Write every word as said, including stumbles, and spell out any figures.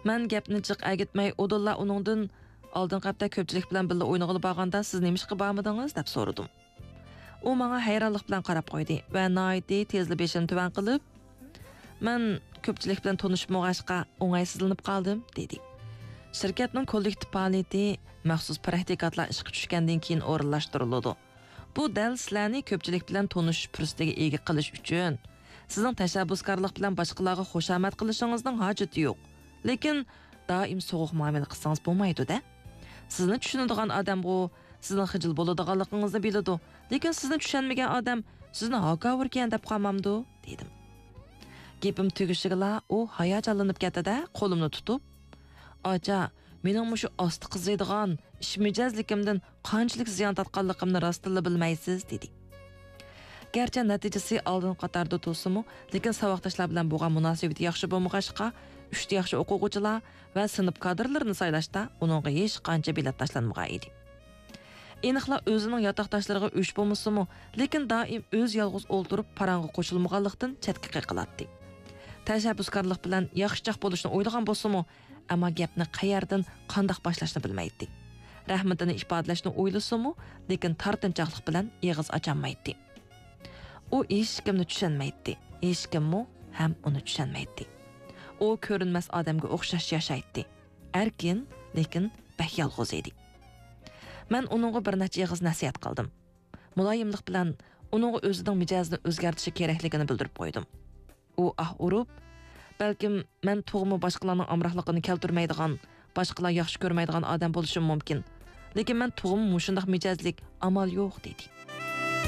مەن گەپنى جىق ئەگىتمەي، ئۇدۇللا ئۇنىڭدىن، «ئالدىنقى ھەپتە كۆپچىلىك بىلەن بىللە ئوينىغىلى بارغاندا سىز نېمىشقا بارمىدىڭىز؟» دەپ سورىدىم. ئۇ ماڭا ھەيرانلىق بىلەن قاراپ قويدى ۋە ناھايىتى تېزلا بېشىنى تۆۋەن قىلىپ، «مەن كۆپچىلىك بىلەن تونۇشۇپ بولغاچقا ئوڭايسىزلىنىپ قالدىم» دېدى. شىركەتنىڭ كوللېكتىپ پائالىيىتى مەخسۇس پراكتىكانتلار ئىشقا چۈشكەندىن كېيىن ئورۇنلاشتۇرۇلىدۇ. بۇ دەل سىلەرنى كۆپچىلىك بىلەن تونۇشۇش پۇرسىتىگە ئىگە قىلىش ئۈچۈن. سىزنىڭ تەشەببۇسكارلىق بىلەن باشقىلارغا خۇشامەت قىلىشىڭىزنىڭ ھاجىتى يوق. لېكىن دائىم سوغۇق مۇئامىلە قىلسىڭىز بولمايدۇ-دە. سىزنى چۈشىنىدىغان ئادەمغۇ سىزنىڭ خىجىل بولىدىغانلىقىڭىزنى بىلىدۇ. لېكىن سىزنى چۈشەنمىگەن ئادەم سىزنى ھاكاۋۇركەن دەپ قالمامدۇ؟ دېدىم. گېپىم تۈگىشىگىلا ئۇ ھاياجانلىنىپ كەتتى-دە، قولۇمنى تۇتۇپ، «ئاچا، مېنىڭ مۇشۇ ئاستا قىزىيدىغان ئىش مىجەزلىكىمدىن قانچىلىك زىيان تارتقانلىقىمنى راستتىنلا بىلمەيسىز» دېدى. گەرچە نەتىجىسى ئالدىنقى قاتاردا تۇرسىمۇ، لېكىن ساۋاقداشلار بىلەن بولغان مۇناسىۋىتى ياخشى بولمىغاچقا، ئۈستى ياخشى ئوقۇغۇچىلار ۋە سىنىپ كادىرلىرىنى سايلاشتا ئۇنىڭغا ھېچقانچە بېلەت تاشلانمىغان ئىدى. ئېنىقلا ئۆزىنىڭ ياتاقداشلىرىغا ئۆچ بولمىسىمۇ، لېكىن دائىم ئۆزى يالغۇز ئولتۇرۇپ پاراڭغا قوشۇلمىغانلىقتىن چەتكە قېقىلاتتى. تەشەببۇسكارلىق بىلەن ياخشىچاق بولۇشنى ئويلىغان بولسىمۇ، ئەمما گەپنى قەيەردىن، قانداق باشلاشنى بىلمەيتتى. رەھمىتىنى ئىپادىلەشنى ئويلىسىمۇ، لېكىن تارتىنچاقلىق بىلەن ئېغىز ئاچالمايتتى. ئۇ ھېچكىمنى چۈشەنمەيتتى، ھېچكىممۇ ھەم ئۇنى چۈشەنمەيتتى. ئۇ كۆرۈنمەس ئادەمگە ئوخشاش ياشايتتى. ئەركىن، لېكىن بەك يالغۇز ئىدى. مەن ئۇنىڭغا بىر نەچچە ئېغىز نەسىھەت قىلدىم. مۇلايىملىق بىلەن ئۇنىڭغا ئۆزىنىڭ مىجەزىنى ئۆزگەرتىشى كېرەكلىكىنى بىلدۈرۈپ قويدۇم. ئۇ ئاھ ئۇرۇپ، «بەلكىم مەن تۇغمۇ باشقىلارنىڭ ئامراقلىقىنى كەلتۈرمەيدىغان، باشقىلار ياخشى كۆرمەيدىغان ئادەم بولۇشۇم مۇمكىن. لېكىن مەن تۇغمۇ مۇشۇنداق مىجەزلىك، ئامال يوق» دېدى.